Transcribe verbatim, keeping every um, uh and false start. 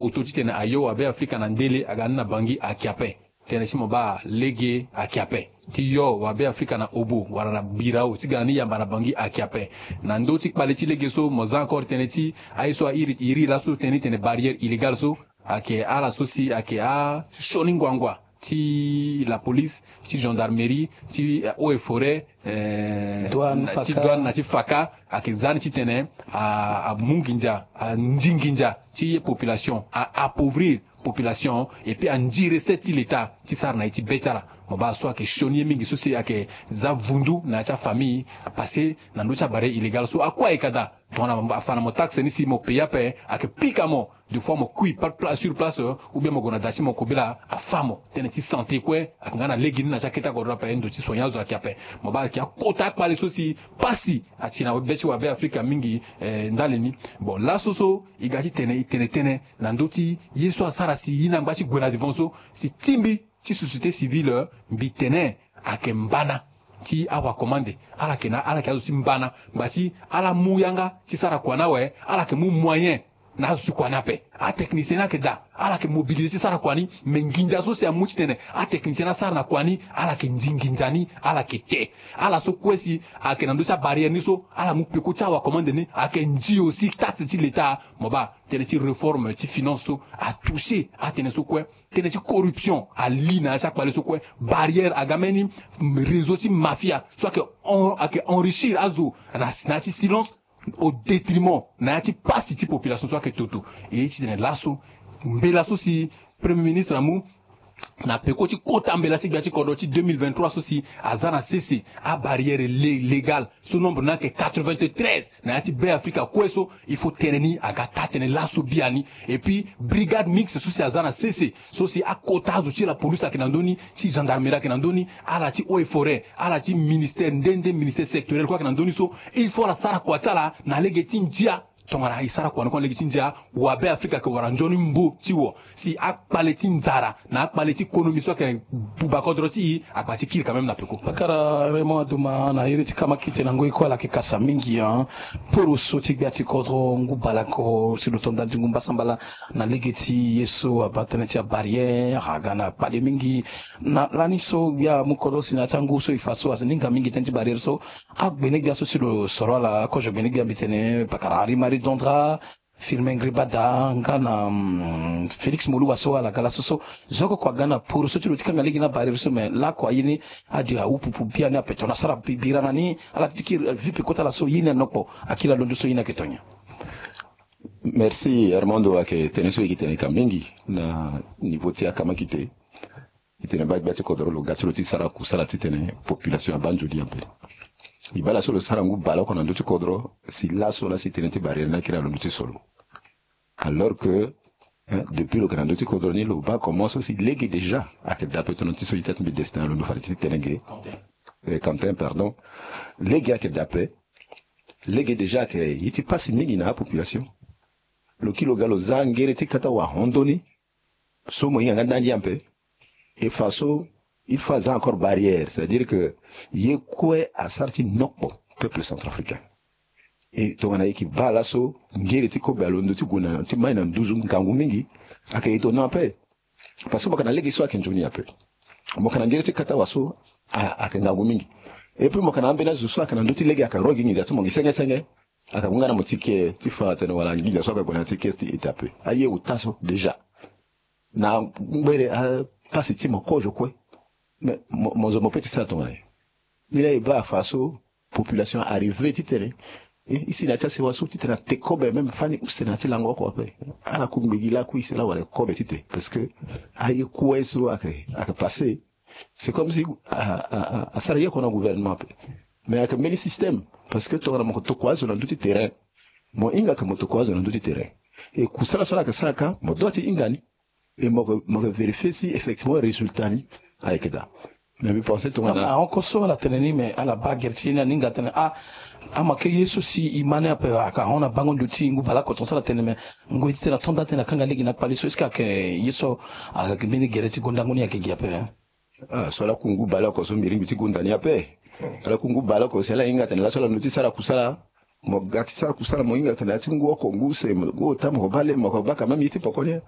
oto titene ayo wabe afrika na ndele aga ni na bangi ake ape. Tënë ti mo baa lege ake ape ti yo wabe afrika na obo wala na birao ti ga na ni yamba na bangi ake ape. Na ndö ti kpale ti lege so mo za encore tënë ti aye so airi iri laso tënë ni tene barrière illégale so ake ala so si ake asioni nguangua ti la police, ti gendarmerie, ti eaux et forêt, eh, ti douane na ti faka, ake za ni titene amu nginza, anzi nginza ti ye population, a appauvrir population et puis anzi recette ti l'état ti sara na ye ti be ti ala. Mo baa so ake sioni ye mingi so si ake za vundu na ya ti afamille apasse na ndö ti abarrière illégale so akue ayeke daa. Tongana afa na mo taxe ni si mo paye ape, ake pika mo. Des fois mo kui sur place, ou bien mo gue na da ti mo kobela afa mo. Tënë ti santé kue ake nga na lege ni na ti akete akodro ape, ndo ti soigner azo ake ape. Mo baa ake akota akpale so si pasi ati na be ti wabe afrika mingi. Eh, ndali ni. Bon, laso so e ga ti tene e tene tënë na ndö ti ye so asara si e na ngba ti gue na devant so si tingbi ti société civile, mbi tene ake mbana ti awakomande ala yeke na ala yeke azo ti mbana ngba ti ala mu yanga ti sara kua ni awe, ala yeke mu moyen na azo ti kua ni ape. Atechnicien ni ayeke daa, ala yeke mobiliser ti sara kua ni. Me nginza so si amu titene atechnicien ni asara na kua ni, ala yeke nzi nginza ni, ala yeke te. Ala so kue si ayeke na ndö ti abarrière ni so ala mu peko ti awakomande ni ayeke nzi aussi taxe ti l'état. Mo baa tënë ti réforme ti finance so atoucher atënë so kue. Tënë ti corruption ali na ya ti akpale so kue. Barrière aga mbeni réseau ti mafia so ayeke en- ayeke enrichir azo na na ya ti silence au détriment na ya ti pasi ti population so ayeke toto. E ye titene laso mbela so si premier ministre amu na peko ti kota mbela ti gbia ti kodro ti deux mille vingt-trois so si aza na sese abarrière lé- légale so nombre ni ayeke quatre-vingt-treize na ya ti Be Afrika kue so. Il faut tënë ni aga taa tënë laso biani. Et puis brigade mixte so si aza na sese so si akota azo ti la police ayeke na ndö ni, ti gendarmerie ayeke na ndö ni, ala ti eaux et forêt, ala ti ministère nde nde, ministère sectoriel kue ayeke na ndö ni so. Il faut ala sara kua ti ala na lege ti ndia. Tongana e sara kua ni kue na lege ti ndia, wabe Afrika ayeke wara nzoni mbo ti wo si akpale ti nzara na akpale ti konomi so ayeke buba kodro ti e, akpa ti kiri quand même na peko. Pakara Raymond Adouma na iri ti kamakite na ngoi kue ala yeke kasa mingi, hein. Poroso ti gbia ti kodro ngu baleoko si lo to ndali ti ngu mbasambala na lege ti ye so abaa tënë ti abarrière aga na kpale mingi. Na lani so gbia amu kodro si na ya ti angu so e fa so aninga mingi tënë ti barrière so. Agbene gbia so si lo soro ala akozo gbene gbia mbi tene pakara Henri Marie Dondra, Firmin Ngribada nga na, mm, Félix Moluba so ala ga laso so. Zo oko kua aga na poroso ti lo ti kanga lege na barrière so, mais lako aye ni ade ahupupu biani ape tongana asara bi- bira na ni ala ti kiri vie pe kota laso ye ni anokpo. Akiri alondo so ye ni ayeke tongana. Merci Armando, ayeke tënë so e yeke tene ka mingi na niveau ti akamakite. E tene baa gbia ti kodro lo ga ti lo ti sara kusala titene population abaa nzoni ape. E baa laso lo sara ngu baleoko na ndö ti kodro si laso lasi tënë ti barrière ni akiri alondo ti so lo. Alors que, hein, depuis lo yeke na ndö ti kodro ni lo baa comment so si lege déjà ayeke dape tongana ti so ita ti mbi destin alondo fade ti tene ge. Eh, Quentin, pardon. Lege ayeke dape. Lege déjà ayeke ye ti pasi mingi na apopulation. Lo kiri lo ga lo za ngere ti kata wahon ndoni so mo hinga nga ndani ape. E fa so il faut aza encore barrière, c'est-à-dire que ye kue asara ti nokpo peuple centrafricain. E tongana e yeke baa laso ngere ti kobe alondo ti gue na ti mai na nduzu ngangu mingi. Ayeke étonnant ape. Parce que mo yeke na lege so ayeke nzoni ape. Mo yeke na ngere ti kata wa so a- ayeke ngangu mingi. Et puis mo yeke na ambeni azo so ayeke na ndö ti lege ayeke ro gi nginza ti mo gi senge senge. Ayeke mu nga na mo ti ke ti fa atene wala nginza so ayeke gue na ya ti ke ti ete ape. Aye ota so déjà na ngbere apasi ti mo kozo kue. Mais mo, mo zo mo pe ti sara tongana nyen? Ni laa e baa afa so population arrivé titene e, e si na ya ti asewa so titene ate kobe même fani use na ya ti lango oko ape. Ala kungbe gi lakui si laa wala e kobe tite parce que aye kue so ayeke, ayeke passé. C'est comme si a, a, a, asara ye oko na gouvernement ape. Mais ayeke mbeni système parce que tongana mo yeke tokua azo na ndö ti terrain, mo hinga ke mo tokua azo na ndö ti terrain. E kusala so ala yeke sara ka mo doit ti hinga ni. E mo yeke, mo yeke vérifier si effectivement résultat ni ayeke daa. Mais mbi pense tongana ahon ko so ala tene ni, mais ala baa gere ti ye ni aninga atene ah, ama ke ye so si e ma ni ape ayeke ahon na bango ndo ti ngu baleoko tongaso ala tene, mais ngoi ti tene ato nda tene akanga lege na kpale so est-ce que ayeke ye so ayeke mbeni gere ti gondango ni ayeke gi ape, hein? Ah, so ala ku ngu baleoko so mbi ringbi ti gonda ni ape. Ala ku ngu baleoko si ala hinga atene laso ala ndo ti sara kusala. Mo ga ti sara kusala mo hinga atene na ya ti ngu oko ngu use ngu ota mo ko baa le mo ko baa quand même ye ti poko ni.